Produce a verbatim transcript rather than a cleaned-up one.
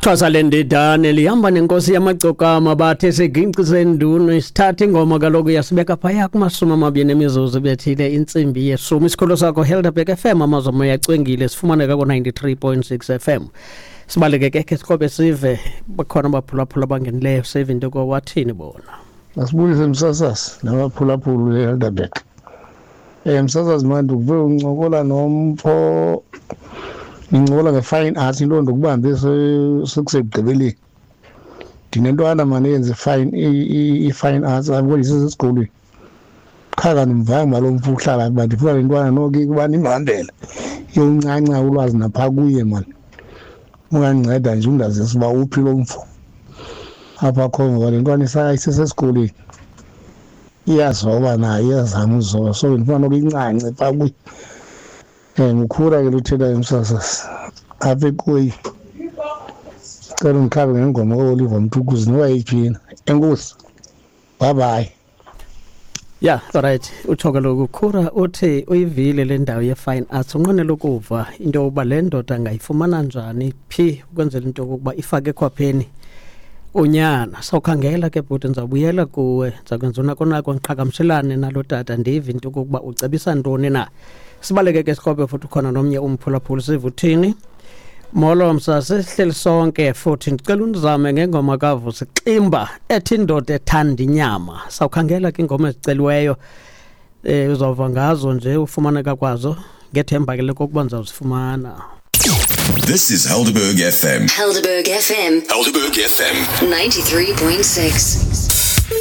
Xhosa lendidane lihamba nenkosi yamagcokama, bathi siginci sendunu isithatha ingoma kaloku yasibeka phaya kumashumi amabini emizuzu bethile intsimbi yeshumi. Isikolo sakho Helderberg F M, amazwe yacwengile, sifumaneka ku-ninety-three point six F M. Sibaleke ke ke sikrobe sive bakhona abaphulaphula abangenileyo, sive into kowathini bona. Masibulise msasazi nabaphulaphuli leHelderberg. Eh msasazi, manje ukuve uncokola nompho, nincokola nge-fine arts, into ndokubambe sekusekugqibeleni. Ndinentwana mane eyenza i-fine i-fine arts apho kodwa isesesikolweni. Qha kandimvanga uba lo mfo uhlala uba ndifuna le ntwana noko ukuba ndimhambele iyoncanca ulwazi naphaa kuye mani. Ungandinceda nje undazise uba uphi lo mfo apha akhoyo, ngoba le ntwana isesesikolweni, iyazoba nayo, iyazama uzoba, so ndifuna noba incance phaa kuye. Um ngukhula ke luthethayo msasazi apha eKoyi. Cela undikhabe ngengoma kaOliver Mtukudzi noba yeyiphi. Enkosi, bye bye. Ya, alright, utsho kaloku Khura, uthi uyivile le ndawo ye-fine arts, unqwenela ukuva into yokuba le ndoda angayifumana njani, phi, ukwenzela into yokokuba ifake ekhwapheni unyana. Sawukhangela ke bhuti, ndizawubuyela kuwe, ndizakwenza unako nako ndiqhagamshelane nalo tata, ndive into yokokuba ucebisa ntoni na. Sibaleke ke sikrobe futhi ukhona nomnye umphulaphuli, sive uthini. Molo msasi, sihleli sonke futhi ndicela undizame ngengoma kaVusi Ximba ethi "Indoda Ethanda Inyama". Sawukhangela ke ingoma eziceliweyo, eh uzawuva ngazo nje ufumaneka kwazo, ngethemba ke lokokuba ndizawuzifumana. This is Helderberg F M. Helderberg F M. Helderberg F M. ninety-three point six.